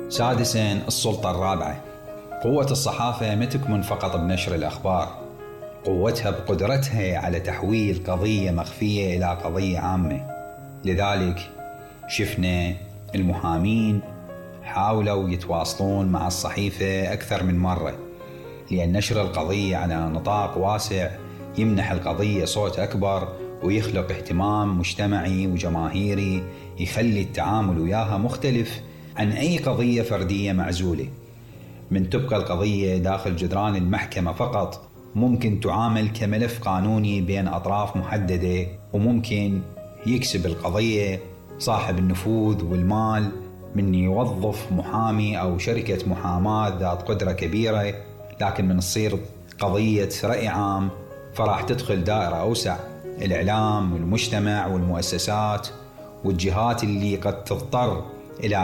سادساً، السلطة الرابعة. قوة الصحافة ما تكمن فقط بنشر الأخبار، قوتها بقدرتها على تحويل قضية مخفية إلى قضية عامة. لذلك شفنا المحامين حاولوا يتواصلون مع الصحيفة أكثر من مرة، لأن نشر القضية على نطاق واسع يمنح القضية صوت أكبر ويخلق اهتمام مجتمعي وجماهيري يخلي التعامل وياها مختلف عن أي قضية فردية معزولة. من تبقى القضية داخل جدران المحكمة فقط، ممكن تعامل كملف قانوني بين أطراف محددة، وممكن يكسب القضية صاحب النفوذ والمال من يوظف محامي أو شركة محاماة ذات قدرة كبيرة. لكن من تصير قضية رأي عام فراح تدخل دائرة أوسع، الإعلام والمجتمع والمؤسسات والجهات اللي قد تضطر إلى